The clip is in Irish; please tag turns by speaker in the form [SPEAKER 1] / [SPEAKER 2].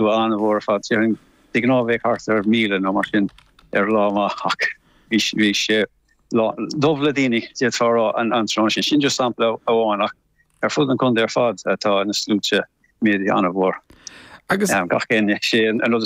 [SPEAKER 1] Slua an-mhór ar fad. Déarfainn de ghnáth bheadh thart ar 1,000 nó mar sin ar lá maith ach bhí sé dubh le daoine, d'fhéadfá a rá, an tráthnóna sin. Sin just sampla amháin ach ar fud an chontae ar fad tá na sluaite méadaithe an-mhór.
[SPEAKER 2] Agus.
[SPEAKER 1] Gach éinne, sé an rud is.